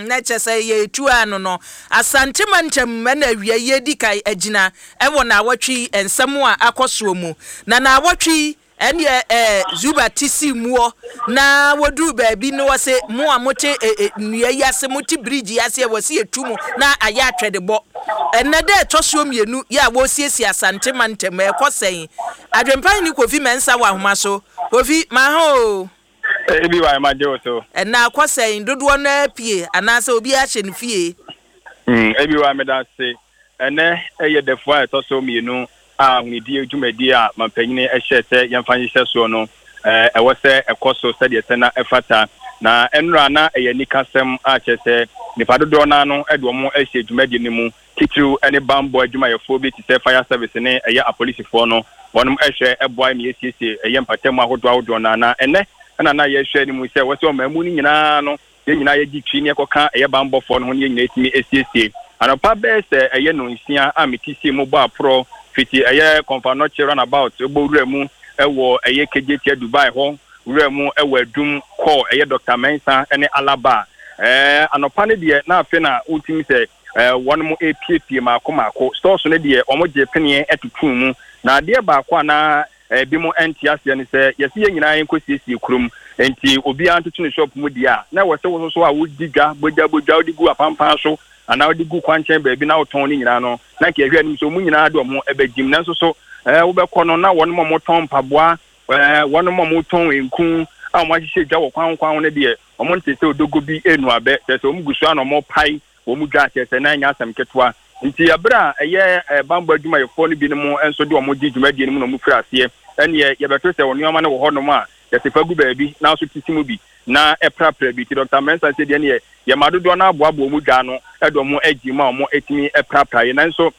Na kyerɛ sɛ yɛretu ano no, Asante mantam na awia yi adi kan agyina wɔ naawɔtwe yi nsɛm a akɔ soɔ mu. Na naawɔtwe yi ɛneɛ eh, Zuba te sii muɔ na wɔduruu baabi no wɔse mo a mote eh, eh, nnua yi ase, mote bridge yi ase a wɔse yɛtu mo na ayɛ atwɛdebɔ. Ɛnnɛ da ɛtɔ soɔ mmienu yɛ a wɔresiesie Asante mantam, ɛrekɔ sɛn? Adwempa Hene Kofi Mensah wɔ ahoma so. Kofi, maha oo. Ebi wa ma gye wo so. Ɛnna akɔ sɛn? Dodoɔ no ara pue anaasɛ obiara hyɛ ne fie? Ebi wa meda ase. Ɛnnɛ yɛ dafua a ɛtɔ so mmienu a ahonidie dwumadie a mampanyini hyɛɛ sɛ yɛmfa nhyehyɛ soɔ no, ɛwɔ sɛ ɛkɔ so sɛdeɛ ɛsɛ na ɛfata. Na ɛnnora na ɛyɛ anikasɛm a kyerɛ sɛ nnipa dodoɔ no ara no de wɔn ahyɛ dwumadie no mu, titiriw ne bammɔ adwumayɛfoɔ bi te sɛ fire service ne ɛyɛ apolisifoɔ no, wɔnom hwɛ boae ma yɛsiesie ɛyɛ mpatamu ahodoɔ ahodoɔ no ara. Na ɛnnɛ na na yɛhwɛ anim sɛ ɛwɔ sɛ ɔman mu no nyinaa no yɛn nyinaa yɛgye twi na yɛkɔka ɛyɛ bammɔfoɔ no ho na yɛn nyinaa yɛtumi siesie. Anɔpa bɛyɛ sɛ ɛyɛ nnɔnsia a mete sii mu bɔ aporɔ fiti ɛyɛ Komfo-Anokye runabout bɔ wura mu wɔ ɛyɛ Kejetia Dubai hɔ wura mu wɔ Adum kɔɔ ɛyɛ Dɔkta Mensah ne Alaba. Ɛɛ anɔpa no deɛ na afe na wotumi sɛ wɔnom repiepie mmaako mmaako. Stores no deɛ wɔn gyee peneɛ totoo mu. Na adeɛ baako a na ebinom nte aseɛ ne sɛ, yɛse yɛn nyinaa yɛnkɔ siesie kurom, nti obiara ntoto ne shop mu deɛ a, na ɛwɔ sɛ wo nso so a wodi dwa, bogya bogya, wode gu apampan so anaa wode gu kwankyɛn baabi na wotɔn ne nyinaa no, na nka yɛhwɛ anim sɛ wɔn nyinaa de wɔn ho bɛgyim. Nanso so wobɛkɔ no na wɔnom a wɔtɔn mpaboa, wɔnom a wɔtɔn nku a wɔahyehyɛ dwa wɔ kwan kwan ho no deɛ, wɔnte sɛ odogo bi renu abɛ, kyerɛ sɛ wɔgu so ara na wɔrepae wɔn dwa, kyerɛ sɛ na ɛnyɛ asɛm ketewa. Nti bere a ɛyɛ bammɔ adwumayɛfoɔ no binom nso de wɔn gye dwumadie no mu na wɔfiri aseɛ, ɛnneɛ yɛbɛto sɛ wɔn nneɛma no wɔ hɔnom a, yɛse fa gu baabi na nso tete mu bi na prapra bi. Nti Dɔkta Mensah sɛ deɛ ɛnneɛ yɛma dodoɔ no ara boaboa wɔn dwa ano de wɔn agye mu a wɔtumi prapraeɛ. Nanso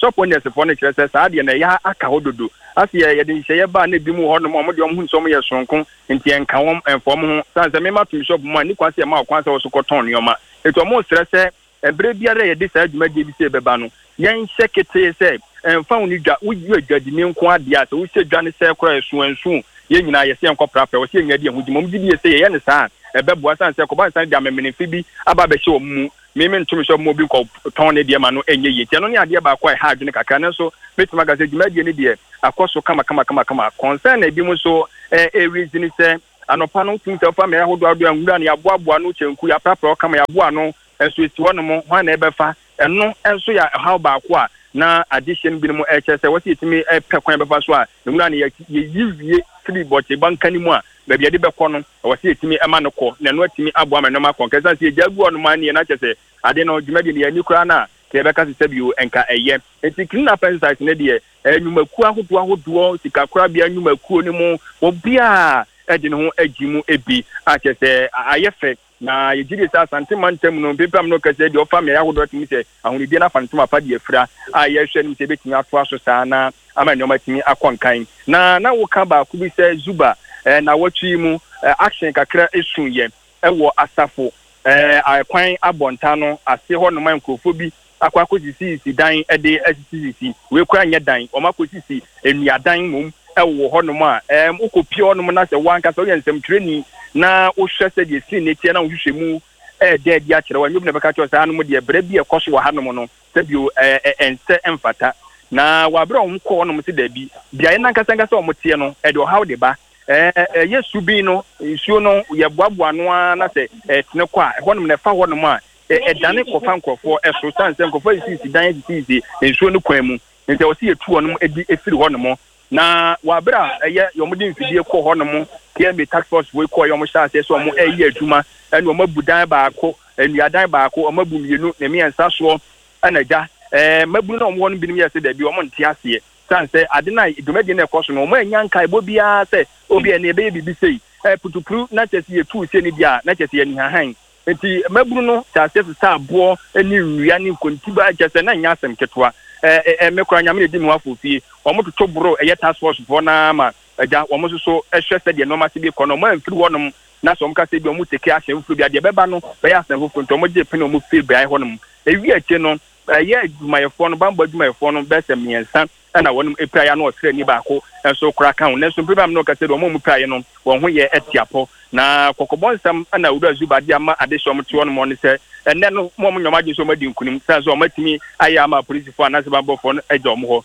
shop owners foɔ no kyerɛ sɛ saa deɛ no ɛyɛ aka hɔ dodo. Ase yɛ yɛde nhyehyɛeɛ ba a na ebinom wɔ hɔnom a wɔn deɛ wɔn hu sɛ wɔn yɛ soronko nti ɛnka wɔn ɛmfa wɔn ho. Sane sɛ mema tom shop mu a nni kwan sɛ yɛma wo kwan sɛ wo so kɔtɔn nneɛma. Nti wɔn resrɛ sɛ ɛberɛ biara a yɛde saa dwumadie bi sei bɛba no yɛnhyɛ ketee sɛ ɛmfa wo ne dwa, woyɛ dwadini nko ara deɛ a sɛ wohyɛ dwa no sɛɛ koraa ɛso ɛnso o, yɛn nyinaa yɛsɛ yɛnkɔ prapra, ɛwɔ sɛ yɛn nyinaa de yɛn ho gye mu. Wɔn gye die sɛ yɛyɛ no saa a ɛbɛboa sane sɛ ɛkɔba nsa no de amemenemfe bi aba abɛhyɛ wɔn mu. Me mento me sɛ ɔbɛma obi nkɔ tɔn ne deɛ ma no ɛnyɛ yie nti ɛno ne adeɛ baako a ɛha adwene kakra nanso mɛtumi aka sɛ dwumadie no deɛ akɔ so kama kama kama kama. Concern a ebinom nso ɛrezi ne sɛ anɔpa no wotumi sɛ wofa mmeaeɛ ahodoɔ ahodoɔ a nwura no yɛaboaboa ano kyɛnku yɛaprapra hɔ kama yɛaboa ano nso ɛsi hɔ nom hwan na ɛbɛfa ɛno nso yɛ ɔhaw baako a na adehyeɛ no binom ɛkyerɛ sɛ wɔsɛ yɛtumi pɛ kwan bɛfa so a nwura no yɛyi wie firi bɔkye banka no mu a baabi yɛde bɛkɔ no Ɛwɔ sɛ yɛtumi ma no kɔ, na ɛno atumi aboa ma nneɛma akɔ nka. Ɛsiane sɛ yɛgyaa gu hɔnom ara nie, na kyerɛ sɛ ade no, dwumadie no, yɛanni koraa no a, nka yɛbɛka sɛ sɛbio nka ɛyɛ. Enti clean up exercise no deɛ, ɛyɛ nnwumakuo ahodoɔ ahodoɔ, sikakorabea nnwumakuo no mu, obiara de ne ho agye mu bi a kyerɛ sɛ ayɛ fɛ. Na yɛgye di sɛ Asante mantam no, mpempem no kɛseɛ deɛ ɔfa mmeaeɛ ahodoɔ atumi sɛ ahonidie no afa ntoma pa de afira a yɛrehwɛ anim sɛ ɛbɛtumi atoa so saa na ama nneɛma atumi akɔ nkan. Na na woka baako bi sɛ Zuba eh, nnawɔtwe yi mu eh, action kakra suiɛ wɔ asafo eh, kwan abɔnta no ase hɔ nom a nkurɔfoɔ bi akɔ akɔsisisisi dan de asisisisi, wei koraa nyɛ dan, wɔn akɔsisi nnuadan mmom wɔ hɔnom a, ɛɛm, wokɔpie hɔnom na sɛ wo ankasa woyɛ nsɛmtwerɛni na wohwɛ sɛdeɛ scene no teɛ na wohwehwɛ mu ɛɛda adi akyerɛ wo a, ɛnyɛ obi na ɛbɛka kyerɛ wo sɛ hanom deɛ brɛ bi a ɛkɔ so wɔ hanom no, sɛbio ɛɛ, ɛnsɛ ɛmfata. Na wɔ aberɛ a wɔn kɔɔ hɔnom sɛ daabi, beaeɛ no ankasa ankasa a wɔn teɛ no, ɛde ɔhaw de ba. Ɛɛ, ɛyɛ subin no, nsuo no, yɛboaboa ano ara na sɛ ɛtene kɔ a, ɛhɔnom na ɛfa hɔnom a, ɛdane kɔfa nkurɔfoɔ so sane sɛ nkurɔfoɔ asisisi dan asisisi nsuo no kwan mu nti ɛwɔ sɛ yɛtu wɔn de firi hɔ nom. Na wɔ abere a ɛyɛ wɔn de mfidie kɔ hɔ nom, KMA task force foɔ kɔɔ yɛ wɔn hyɛ aseɛ sɛ wɔn ɛreyɛ adwuma ɛna wɔn abu dan baako, nnuadan baako, wɔn abu mmienu ne mmiɛnsa soɔ ɛna gya ɛɛ mmabunu na wɔn hɔ no binom yɛ sɛ daabi wɔn nte aseɛ sane sɛ ade no a dwumadie no ɛkɔ so no wɔn annya nkaebɔ biara sɛ obi ɛne ɛbɛyɛ biribi sei ɛɛ putupuru na kyɛ sɛ yɛtuu sei no deɛ a na kyɛ sɛ yɛnihahan. Enti mmabunu no hyɛɛ aseɛ sesaa aboɔ ne nnua ne nkontiba, kyerɛ sɛ na ɛnyɛ asɛm ketewa. Ɛ ɛ me koraa Nyame na ɛdi me ho afofie. Wɔn toto boro ɛyɛ task force foɔ no ara ma agya wɔn nso so hwɛ sɛdeɛ nnoɔma se bi kɔ no. Wɔn amfiri hɔnom na sɛ wɔn ka sɛ ebia wɔn take action foforɔ bi a, deɛ ɛbɛba no bɛyɛ asɛm foforɔ. Nti wɔn gyee pene wɔn firi beaeɛ hɔnom. Ɛwie akyire no, ɛyɛ adwumayɛfoɔ no, bammɔ adwumayɛfoɔ no bɛyɛ sɛ mmiɛnsa. na wɔnom piraeɛ a na ɔsraani baako nso koraa ka ho. Nanso mprɛ bi a me ne wo kasa yi deɛ wɔn a wɔpiraeɛ no wɔn ho yɛ atiapɔ. Na kɔkɔbɔ nsɛm na Owura Zuba de ama adehye a wɔte hɔ nom ne sɛ ɛnnɛ no mo a wɔnyɛ wɔn adwene sɛ wɔadi nkunim sane sɛ wɔatumi ayɛ ama apolisifoɔ anaasɛ banbɔfoɔ no agya wɔn hɔ.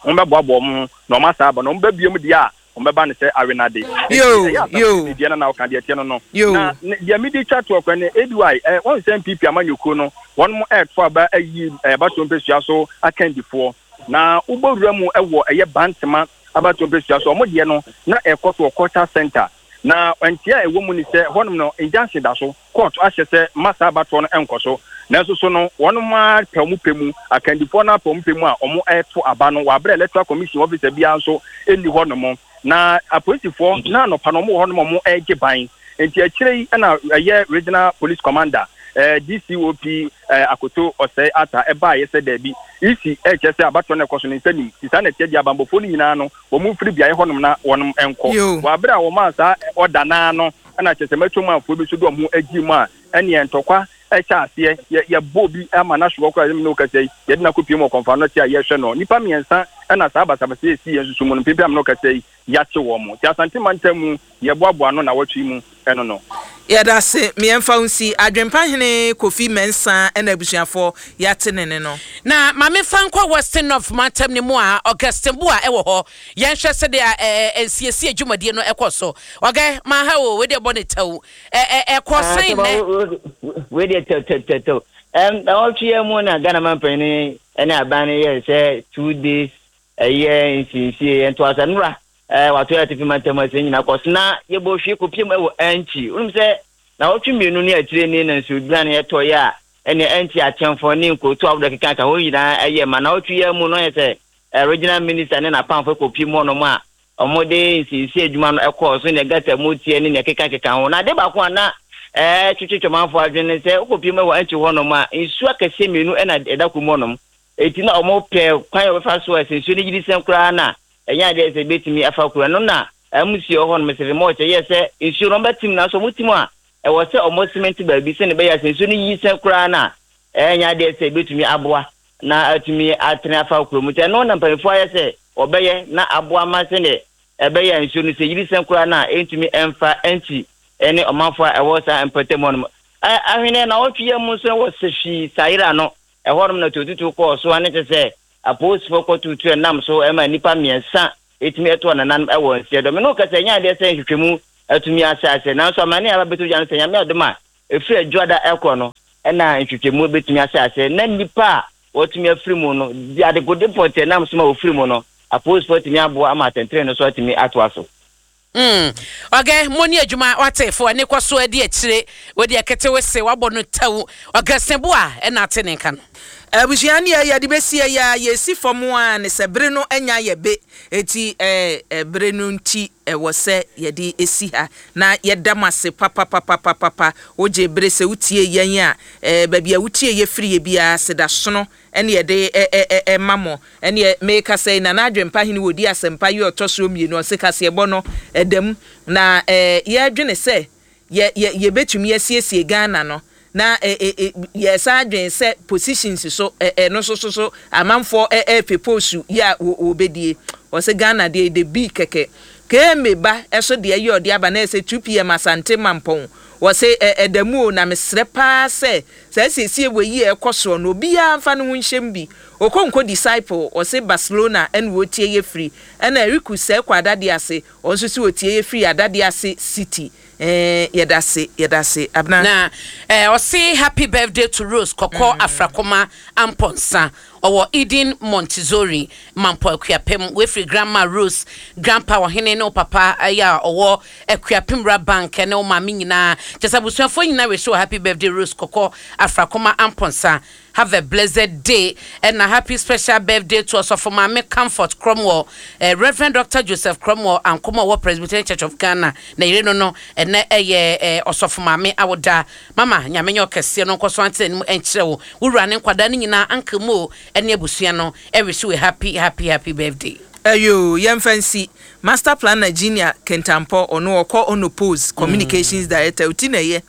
Wɔbɛboaboa wɔn ho na wɔasan aba na wɔba biom deɛ a Wɔbɛba no sɛ awenade. Enti Yoo, ɛyɛ asafo yoo, no deɛ na na woka deɛ ɛteɛ no no. yoo. Na ne, deɛ mede twa toɔ koraa ne ABY, eh, wɔn sɛ NPP amanyɔkuo no, wɔnom ɛreto aba ayi eh, abatoɔ mpɛsua so akandifoɔ. Na wobɔ wura mu wɔ ɛyɛ Bantema abatoɔ mpɛsua so, wɔn deɛ no, na ɛrekɔ so wɔ Culture Centre. Na nteɛ a ɛwɔ mu ne sɛ, hɔnom no, injunction da so. Kɔɔto ahyɛ sɛ mma saa abatoɔ no nkɔ so. Nanso so no, wɔnom ara pɛ wɔn pɛ mu, akandifoɔ no ara pɛ wɔn pɛ mu a wɔreto aba no wɔ aberɛ a Electoral Commission officer biara nso nni hɔnom. Na apolisifoɔ na anɔpa no wɔn wɔ hɔnom a wɔregye ban. Nti akyire yi na ɛyɛ Regional Police Commander, DCOP Akoto Osei Arthur baeɛ sɛ daabi, EC rekyerɛ sɛ abatoɔ no rekɔ so no nsa nnim. Nti saa na ɛteɛ deɛ abanbɔfoɔ no nyinaa no wɔn mfiri beaeɛ hɔnom na wɔnom nkɔ. Wɔ aberɛ a wɔmaa saa order no ara no, Ɛna kyerɛ sɛ mɛtɔ bi nso de wɔn ho agye mu a, ɛneɛ ntɔkwa hyɛ aseɛ. Yɛ, yɛbɔ obi ama no ahwe hɔ koraa, me ne wo kasa yi, yɛde no akɔpue mu wɔ Kɔmfoano te a yɛrehwɛ no. Nnipa mmiɛnsa na saa basabasa yi a ɛsii yɛn nso so mu no, mprempren a me ne wo kasa yi, yɛakye wɔn. Nti Asante mantam mu, yɛboaboa ano nnawɔtwe yi mu ɛno no. Yɛda ase, me yɛmfa wo nsi. Adwempa hene Kofi Mensah ɛna abusuafoɔ yɛate ne ne no. Na ma memfa nkɔ Western North mantam no mu a Augustine Boah wɔ hɔ. Yɛnhwɛ sɛdeɛ ɛɛ nsiesie dwumadie no kɔ so. Ɔgɛ, manha o, wei deɛ bɔ ne tɛw. Ɛ ɛ ɛkɔ Ah, sɛn sɛ nnɛ? wei deɛ tɛw tɛw tɛw. Ɛm, nnawɔtwe yi mu na Ghana manpanin ne aban no yɛɛ sɛ 2 days ɛyɛ nsiesie ntoaso. Nnora, ɛɛ wato yɛ atifi mantam ase nyinaa kɔ so na yɛbɔ hwie kɔpiem wɔ Ankyi. Wonim sɛ nnawɔtwe 2 ne akyire ni na nsuoduane ɛtɔeɛ a ɛne Ankyi akyɛmfoɔ ne nkurotoɔ ahodoɔ keka ka hɔ nyinaa ɛyɛ ma nnawɔtwe yi mu no yɛ sɛ Regional Minister ne n'apamfo kɔpiem hɔnom a wɔde nsiesie adwuma no kɔɔ so, nea gutter mu teɛ ne nea ɛkekakeka ho. Na ade baako a na ɛtwetwe Twɔmanfoɔ adwene ne sɛ wokɔpiem wɔ Antwi hɔnom a, nsuo akɛseɛ mmienu na ɛda kurom hɔnom. Enti na wɔpɛ kwan a wɔbɛfa so a sɛ nsuo no yiri sɛn koraa no a, ɛnyɛ adeɛ sɛ ɛbɛtumi afa kuro. Ɛno na amusie wɔ hɔnom, Stephen Moore kyerɛ sɛ nsuo no wɔbɛtem, nanso wɔtem a, ɛwɔ sɛ wɔsemente baabi sɛnea ɛbɛyɛ a sɛ nsuo no yiri sɛn koraa no a, ɛnyɛ adeɛ sɛ ɛbɛtumi aboa na atumi atene afa kurom. Nti ɛno na mpanyinfoɔ ayɛ sɛ wɔbɛyɛ na aboa ma sɛdeɛ ɛbɛyɛ a nsuo no sɛ yiri sɛn koraa no a ɛntumi mfa nkyi ne ɔmanfoɔ a ɛwɔ saa mpɔtam hɔ nom. Ahweneɛ nnawɔtwe yi mu nso wɔ Sehwi Sayera no, ɛhɔnom na tuotutuo kɔɔ so ane kyɛ sɛ apolisifoɔ kɔtutu ɛnam so ma nnipa mmiɛnsa ɛtumi ɛtoɔ nananom ɛwɔ nseɛ dɔ. Me ne wo kasa ɛnyɛ adeɛ sɛ nhwehwɛmu atumi ahyɛ aseɛ nanso amane a aba bɛtɔ dwa no sɛ Nyame adom a ɛfiri Adwuada ɛkorɔ no na nhwehwɛmu bɛtumi ahyɛ aseɛ na nnipa a wɔatumi afiri mu no, de adekode pɔtee nam so ma wɔfiri mu no, apolisifoɔ atumi aboa ama atɛntrenee no so atumi atoa so. Mm ɔgɛ mo ne adwuma wate fo ɛne kɔ so adi akyire wei deɛ kete wese wabɔ no tɛw ɔgɛ se bo a ɛna ate ne nka no. Abusua neɛ yɛde bɛsie yi ara yɛsi fam ara ne sɛ bere no anya yɛ be enti ɛɛ bere no nti ɛwɔ sɛ yɛde si ha na yɛda mo ase papapapapapa wogye bere sɛ wotie yɛn a ɛɛ baabi a wotie yɛ firi yɛ biara seda sono ɛne yɛde ɛ ɛ ma mo ɛneɛ mekasa yi Nana Adwempa hene wɔdi asɛmpa yi ɔtɔ soɔ mmienu ɔse kaseɛbɔ no ɛda mu na ɛɛ yɛdwene sɛ yɛ yɛ yɛbɛtumi asiesie Ghana no na ɛ ɛ ɛ yɛsan adwene sɛ positions so ɛ ɛno nso so so amanfoɔ ɛ ɛrepɛ post yi a wɔ wɔbɛdie. Ɔse Ghana deɛ the be kɛkɛ. KMA ba ɛso deɛ yɛ ɔde aba na ɛsɛ 2pm Asante Mampɔn. Ɔse ɛ ɛda mu o na mesrɛ paa sɛ saa asiesie wei yi a ɛkɔ soɔ no obiara mfa ne ho nhyɛm bi. Okonkwo Disciple ɔse Barcelona ɛna ɔretie yɛ firi ɛna Eriku Sɛɛkɔ Adadease Ɔno nso se otie yɛ firi Adadease city eh yɛdase yɛdase Abena. Na eh ɔse happy birthday to Rose kɔkɔ Afrakoma Amponsah ɔwɔ Eden Montessori Mampɔ Akuapem wei firi Grandma Rose Grandpa Ɔhene ne wo papa yɛ a ɔwɔ Akuapem Wura Bank ne wo maame nyinaa kyerɛ sɛ abusuafoɔ nyinaa wish wo happy birthday Rose kɔkɔ Afrakoma Amponsah Have a blessed day ɛna happy special birthday to Ɔsɔfo Maame Comfort Cromwell, eh, Rev. Doctor Joseph Cromwell Ankomah ɔwɔ Presbyterian Church of Ghana na yere no no ɛnɛ ɛyɛ eh, Ɔsɔfo Maame awoda. Mama Nyame nyɛ ɔkɛseɛ no nkɔso ante n'anim nkyerɛ wo, wo wura ne nkwadaa no nyinaa, Uncle Mo ɛne abusua no ɛwish wo a happy happy happy birthday. Ɛyoo, yɛmfa nsi. Master Planner Junior Kintampɔ, ɔno ɔkɔ Onopose Communications Director, oti na ɛyɛ.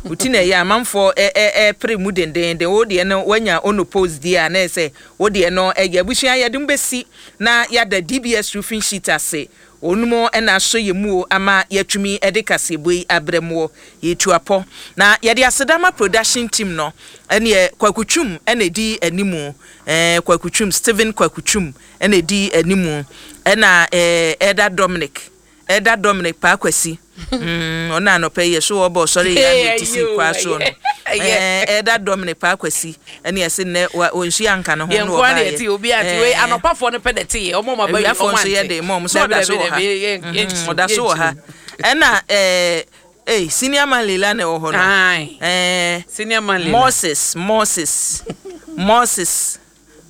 Wo ti na ɛyɛ amanfoɔ ɛ ɛ ɛpere mu dendeenden. Wo deɛ no woanya ono post deɛ a na ɛsɛ wo deɛ no ɛyɛ. Abusua yɛde mo bɛsi na yɛada DBS roofing sheet ase. Wɔnom na asɔ yɛn mu o ama yɛatumi de kaseɛbɔ yi abrɛ moɔ. Yɛretu apɔ. Na yɛde aseda ma production team no. Ɛneɛ Kwaku Twum na ɛdi animu. Ɛɛ Kwaku Twum, Stephen Kwaku Twum na ɛdi animu. Ɛna ɛɛ Elder Dominic, Elder Dominic Paa Kwasi. Mm, ɔno anɔpa yi yɛso wɔbɔ ɔsɔre yɛ ana ɛti si kwaa soɔ no. Ɛɛ Elder Dominic Paa Kwasi ɛne yɛse nnɛ wɔnsu anka ne ho Yɛn na nko ara na wɔbaeɛ. yɛte obi ante wei Ɛɛ anɔpafoɔ no pɛ na ɛte yɛ ɔmo ɔmo aba wi awiafoɔ ɔmo nso yɛ ante de ma ɔmo sɛ dabi ɔda so dabi wɔ ha. dabi yɛn Mhm, yɛnkyim ɔda so wɔ ha. yɛnkyim Ɛna ɛɛ ei senior man Leila na ɛwɔ hɔ no. Ae Ɛɛ senior man Leila Moses Moses Moses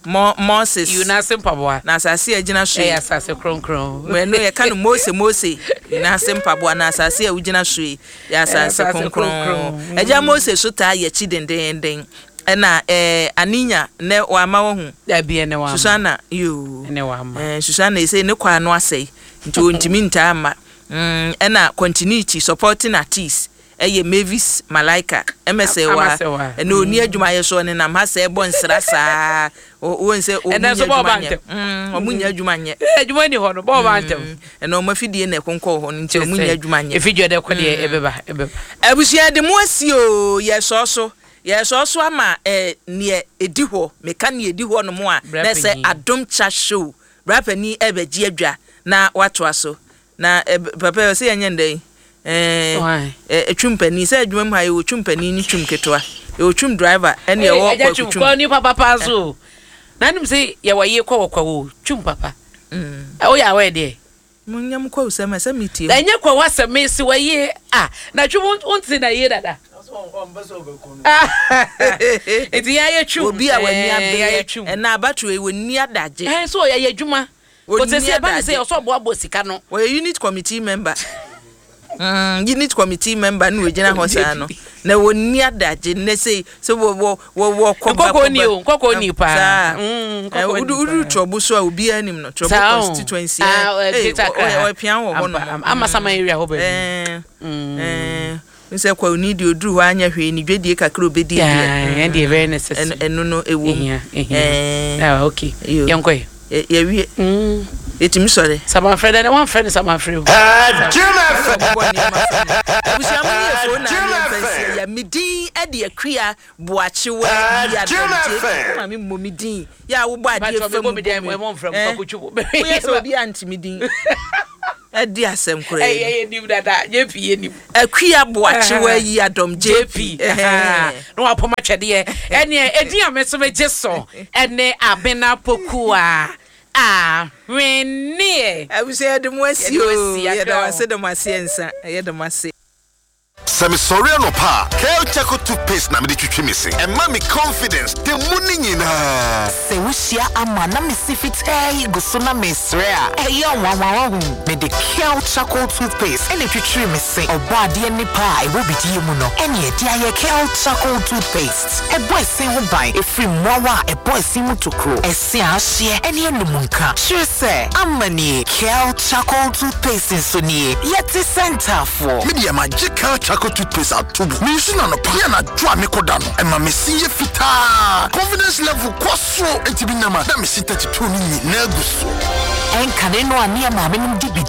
Mo Moses. Yiw n'ase mpaboa Na asase a ɛgyina so yi. ɛyɛ asase kronkron Ɛno yɛka no Mose Mose n'ase mpaboa na asase a wogyina so yi yɛ ɛyɛ asase asase kronkron. kronkron Agya Mose so taa yɛ akyi dendeenden. Ɛna ɛɛ Aninya nɛ wama wahu. Dabi ɛnɛ wama Susana yoo ɛnɛ wama ɛɛ Susana ɛsei ne kwan ano asɛe nti ɔntumi ntaa mma. Mm ɛna continuity supporting artiste ɛyɛ Mavis Malaika ɛmɛsɛwa Amasɛwa ɛna ɔni adwuma yɛ so ɔnenam ha sɛ ɛbɔ nsra saa wɔn sɛ wɔn ɛnɛ nyɛ nso bɔɔ adwuma ba nyɛ ntɛm mm wɔn nyɛ adwuma nyɛ adwuma ni hɔ no bɔɔ ba ntɛm mm ɛna wɔn afidie na ɛkonkɔɔ hɔ no nti kyerɛ wɔn nyɛ sɛ adwuma nyɛ efi dwa dɛ kɔ deɛ ɛbɛba ɛbɛba Abusua de mo asi oo yɛsɔɔ so yɛsɔɔ so ama eh, neɛ ɛdi hɔ meka neɛ ɛdi hɔ nom a bra na ɛsɛ panyin Adom Chat Show bra panin ɛbɛgye adwa na watoa so na eh, papa yi ɔsɛ yɛnyɛ ndɛn eh, Why? eh, twum panin sɛ adwuma mu ha yɛwɔ twum panin ne twum ketewa yɛwɔ twum driver ɛne Ee, ɛwɔ agya kwaku twum twum kɔ nipa papa nso o. Na nim sɛ yɛwɔ yie kɔ wɔ kwa wo twum papa. Woyɛ awɛ deɛ. Monyɛ mo kwawu sɛm ɛsɛ metie mo. Ɛnyɛ kwa wasɛm mesi wɔ yie a na twum wonte na yie dada. Nti yɛayɛ twum Obi a w'ani ɛɛ yɛayɛ abereɛ twum. ɛna abatoɔ yi wɔnni adagye. Ɛɛ so yɛyɛ adwuma. Wɔnni Kò sɛ ɛba ne sɛ adagye. ɔsɛ ɔboaboa sika no. Wɔyɛ unit committee member. Mm, unit committee member na wɔgyina hɔ saa no. Na wɔnni adagye nnɛ sei sɛ wɔ wɔ wɔ wɔ kɔba Nkɔkɔɔ ni kɔba. o, nkɔkɔɔ ni paa. Saa. Mm, Eh, nkɔkɔɔ ni wodu wodu paa. Trɔbo so a obiara nim no. Trɔbo Saa o. constituency. Ah, Eh, eh, eh, Greater Accra ɔyɛ ha. ɔpia wɔ hɔ Ampa, nom. ampa. Amasaman area hɔ baabi. Eh, eh, n sɛ kwawuni deɛ oduru hɔ anyɛ hwee ne dwadie kakra obɛdi deɛ. Yeah, ɛn deɛ very necessary. Ɛno no ɛwɔ mu. Ehia, ehia. Eh, Ah, okay. yo. Yɛnkɔ yɛ. Yɛwie. Yɛtumi sɔre. Samanfrɛ dɛ, wɔamfrɛ no samanfrɛ o. Ɔbobɔ nneɛma fa mu. Abusua mo ne yɛ fo na ne yɛmfa nsie yɛ. Me din de Akua Boakyewa yi adɔm JP. Wo maame mmɔ me din. Yɛ a wobɔ adeɛ Mpakyɛ fa mebɔ mu me bɔ din mu. ɛmɔ mfrɛ Eh? m kwakotwo mu. Woyɛ sɛ obi ante me din. Ɛde asɛm koraa Ɛyɛ ni. yɛ nim dada, JP yɛ nim. Akua Boakyewa yi adɔm JP. JP na wapɔm atwɛdeɛ ɛneɛ ɛdin a me nso megye so ɛne Abena Pokuaa Ahweneɛ. Abusua yɛde mo asi Yɛde mo o. asi, Yɛda Accra mo o. ase da mo ase ɛnsa. Yɛda mo ase. Sɛ mesɔre anɔpa a, Kel Charcoal Toothpaste na mede twitwi me se. Ɛma me confidence da mu no nyinaa. Sɛ wohyia ama na me se fitaa yi gu so na mesrɛ a, ɛyɛ nwanwa wahu. Mede Kel Charcoal Toothpaste ɛna etwitwiri me se. Ɔbɔadeɛ nnepa a ɛwɔ bidie mu no ɛne ɛde ayɛ Kel Charcoal Toothpaste. Ɛbɔ ɛse ho ban ɛfiri mmoawa a ɛbɔ ɛse mu tokuro, ɛse a ahyeɛ ɛne anum nka. Kyerɛ sɛ, ama nie, Kel Charcoal Toothpaste nso nie. Yɛte sɛ ntaafoɔ. Me deɛ magye Kel Charcoal Toothpaste ato mu. Mensu no anɔpa ne anadwo a mekɔda no. Ɛma me se yɛ fitaa. Confidence level kɔ soro. Enti menam a na me se 32 no nyinaa gu so. Ɛnkane no a ne yɛ maamenom de bidie